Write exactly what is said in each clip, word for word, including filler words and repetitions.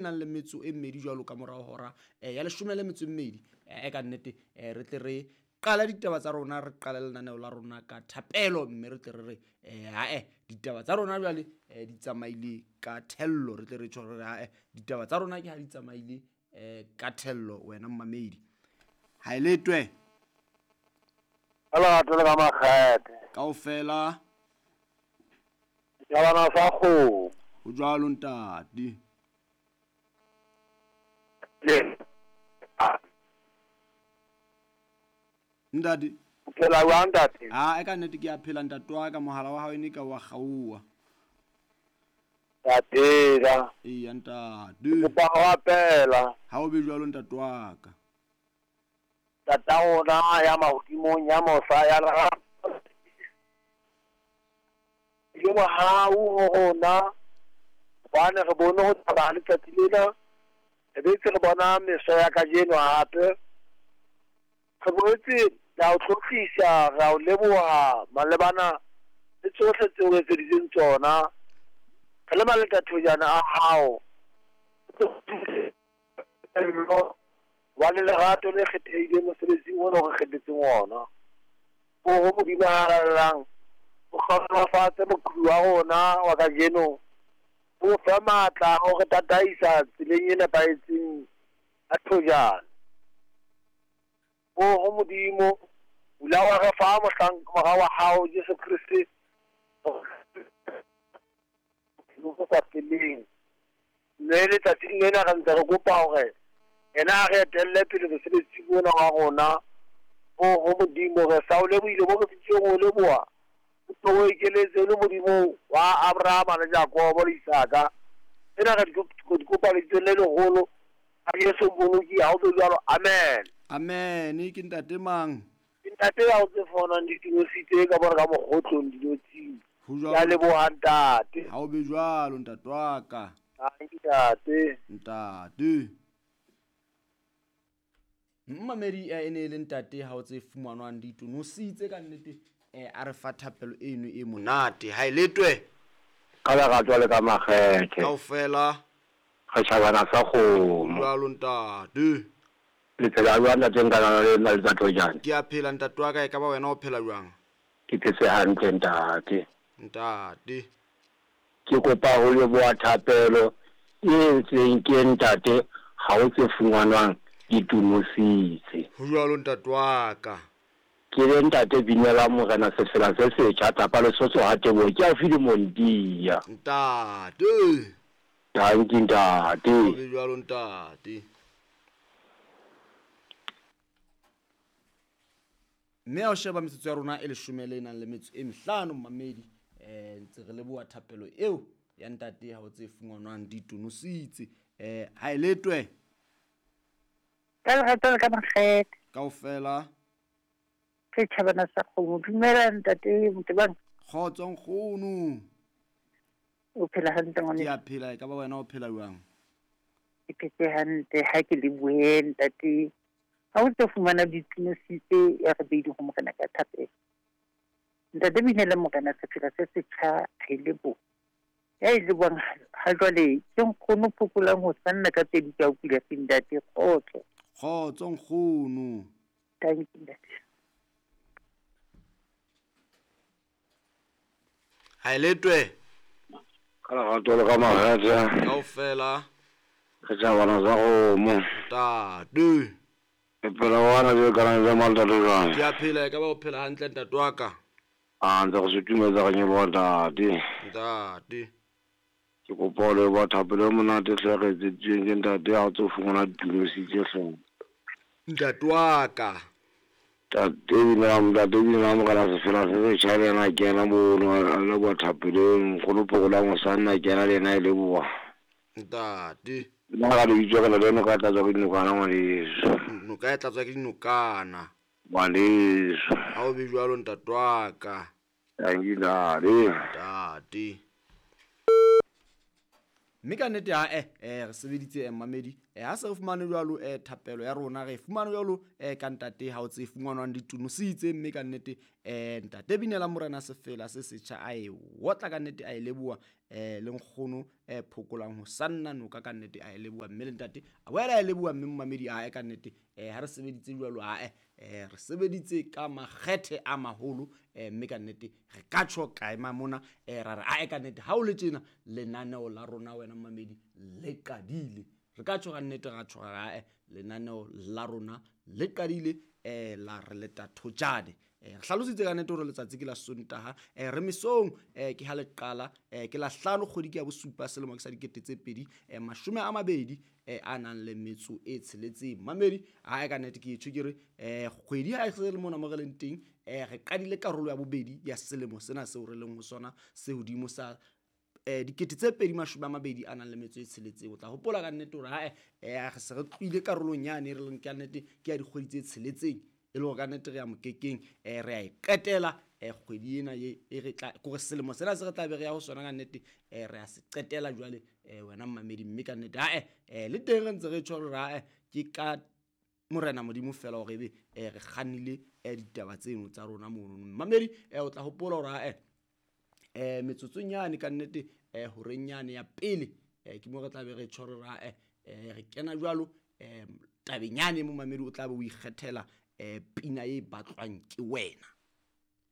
Nang le metso e mmedi jwalo ka morao hora eh, ya leshome le metso e mmedi eh, ka nnete eh, re tle re qala ditaba tsa rona, re qale lenaneo la rona ka thapelo, mme re tle re re eh, hae ditaba tsa rona jwale eh, di tsamaile ka thello. Re tle re tjho re re hae ditaba tsa rona ke ha di tsamaile eh, ka thello. Wena mmamedi ha e letwe ka lerato le ka makgethe kaofela setjhabana sa kgomo. Ho jwalo ntate. Le Ntate o phela jwang ntate? Ah, e ka nnete ke a phela ntate wa ka, mohala wa hao e ne ka wa kgaoha. Ke a phela. Eya ntate. Kopa ho rapela. Ha o be jwalo ntate wa ka. Tata rona ya mahodimong ya mosa ya lerato. Le mohau ho rona, hobane re bone ho thaba letsatsi lena, re betse re bona meso ya kajeno hape. Re boetse ra o tlotlisa, ra o leboha malebana le tsohle tseo o etseditseng tsona. Re le maletathojana a hao, hobane lerato le kgethehileng mosebetsing ona o re kgethetseng ona. Oho Modimo a halalelang, o hlohonolofatse moqhubi wa rona wa kajeno, o fe matla a ho re tataisa tseleng e nepahetseng ya thojana. Oho Modimo, o la wa re fa mohlanka mora wa hao Jesu Kriste bo sa feleng. Mme letsatsing lena re ntse re kopa hore yena a re etelle pele mosebetsing ona wa rona. Oho Modimo, re sa o lebohile bo re fihlileng ho o leboha. O tlo o ekeletse le Modimo wa Abrahama le Jakobo le Isaka. Tsena re di kopa lebitsong le leholo a Jesu Mmoloki, ha o be jwalo. Amen. Amen. Ke ntate mang? Ke ntate ya o tse fonang ditinositse ka bore ka mokgotlong dinotsing. Ho jwalo. Ke a leboha ntate. Ha o be jwalo ntate wa ka. Ntate. Ntate. Mmamedi e ne e le ntate ha o tse fumanwang ditonositse ka nnete eh, a re fa thapelo eno e monate. Ha e letwe ka lerato le ka makgethe kaofela re tjhabana sa kgomo. Jwalo ntate. Le phela jwang ntate? Nka nana le nna letsatsi. Ke a phela ntate wa ka, e ka ba wena o phela jwang? Ke phetse hantle ntate. Ntate. Ke kopa ho leboha thapelo e entsweng ke ntate ha o tse fumanwang ditonositse. Ho jwalo ntate wa ka. Ke le ntate binela morena sefela se setjha tapa Lesotho ha teboho ke a file Montia. Ntate. Danki ntate. Ho be jwalo ntate. Mme ha o sheba metsotso ya rona e leshome le nang le metso e mehlano mmamedi, eh ntse re leboha thapelo eo ya ntate ha o tse fumanwang ditonositse. Eh ha e letwe ka lerato le ka makgethe kaofela setjhabana sa kgomo. Dumela ntate Motebang. Kgotso nkgono. O phela hantle ngwaneso? Ke a phela, e ka ba wena o phela jwang? Ke phetse hantle, ha ke lebohe ntate. Ha o tlo fumana ditonositse ya re beidi ho morena ka thapelo. Ntate binela morena sefela se setjha ha e leboha. Ya e lebohang ha jwale ke nkgono phokolang ho sanna ka pedi ka o pila ntate. Kgotso. Kgotso nkgono. Thank you ntate. Ha e letwe ka lerato le ka makgethe kaofela re tjhabana sa kgomo. Ntate. Ke phela wana je ka nna le ntate jwang? Ke a phela, e ka ba o phela hantle ntate wa ka. A ntse re sutumetsa re nyeboha ntate. Ntate. Ke kopa ho leboha thapelo e monate hle re etseditsweng ke ntate ha o tso fumana ditonositse hle. Ntate wa ka. Ntate binela ntate binela morena sefela se setjha le yena a kena mono a leboha thapelo eno. Nkgono phokolang ho sanna a kena le yena e leboha. Ntate. Nna ka lebitso ke na le noka e tlatswa ke dinokana ngwaneso. Noka e tlatswa ke dinokana. Ngwaneso. Ha o be jwalo ntate wa ka. Danki ntate. Ntate. Mme ka nnete ha eh eh re sebeditse eh mmamedi eh ha se re fumane jwalo eh thapelo ya rona re fumane jwalo eh ka ntate ha o tse fumanwang ditonositse. Mme ka nnete eh ntate binela morena sefela se setjha a e wotla ka nnete a e leboha eh le nkgono eh phokolang ho sanna noka ka nnete a e leboha mme le ntate a boela a e leboha mme momamedi a e ka nnete eh ha re sebeditse jwalo a eh eh re sebeditse ka makgethe a maholo eh mme ka nnete re ka tjho kae mona eh ra re a e ka nnete ha o le tjena lenaneo la rona wena momamedi le qadile re ka tjho ka nnete ra tjho ra eh lenaneo la rona le qadile eh la re leta thojane eh re hlalositse ka nnete hore letsatsi ke la Sontaha eh re mesong eh ke ha le qala eh ke la hlano kgwedi ke ya bosupa selemo ke sa dikete tse pedi eh mashome a mabedi eh a nang le metso e tsheletseng mamedi ha e ka nnete ke tjho ke re eh kgwedi ha e se le mona mo re leng teng eh re qadile karolo ya bobedi ya selemo sena seo re leng ho sona se hodimo sa eh dikete tse pedi mashome a mabedi a nang le metso e tsheletseng o tla hopola ka nnete hore ha eh re se re tlohile karolong yane re leng ka nnete ke ya dikgwedi tse tsheletseng e le hore ka nnete re ya mokekeng eh re a e qetela eh kgwedi ena e re tla kore selemo sena se re tla be re ya ho sona ka nnete eh re a se qetela jwale eh wena mmamedi mme ka nnete ha eh le teng re ntse re tjho hore ha ke ka morena modimo fela hore ebe eh re kgannile ditaba tseno tsa rona mono mmamedi eh o tla hopola hore ha eh metsotsong yane ka nnete eh horeng yane ya pele eh ke mo re tla be re tjho hore ha eh re kena jwalo eh tabeng yane mo mamedi o tla be o ikgethela eh pina e batlwang ke wena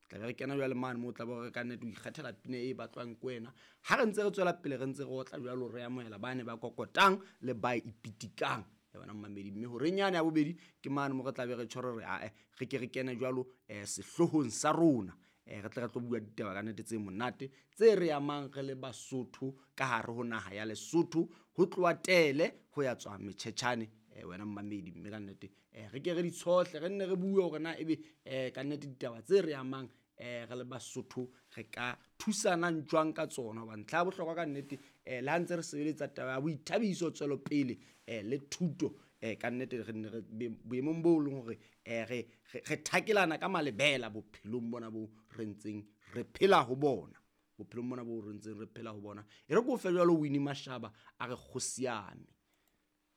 tla be re kena jwale mane mo tla be re ka nnete o ikgethela pina e batlwang ke wena ha re ntse re tswela pele re ntse re otla jwalo re amohela bane ba kokotang le ba ipitikang ya bona mmamedi mme horeng yane ya bobedi ke mane mo re tla be re tjho re a re ke re kene jwalo eh sehlohong sa rona eh re tla re tlo bua ditaba ka nnete tse monate tse re amang re le Basotho ka hare ho naha ya Lesotho ho tloha Tele ho ya tswa Metjhetjhane eh wena mmamedi mme ka nnete eh re ke re di tshohle re nne re bue hore na ebe eh ka nnete ditaba tse re amang eh re le Basotho re ka thusanang jwang ka tsona hobane ntlha ya bohlokwa ka nnete eh le ha ntse re sebeletsa taba ya boithabiso tswelopele eh le thuto eh ka nnete re nne re boemong bo leng hore eh re re thakelana ka malebela bophelong bona bo re ntseng re phela ho bona bophelong bona bo re ntseng re phela ho bona e re ko fe jwalo Winnie Mashaba a re kgosiame.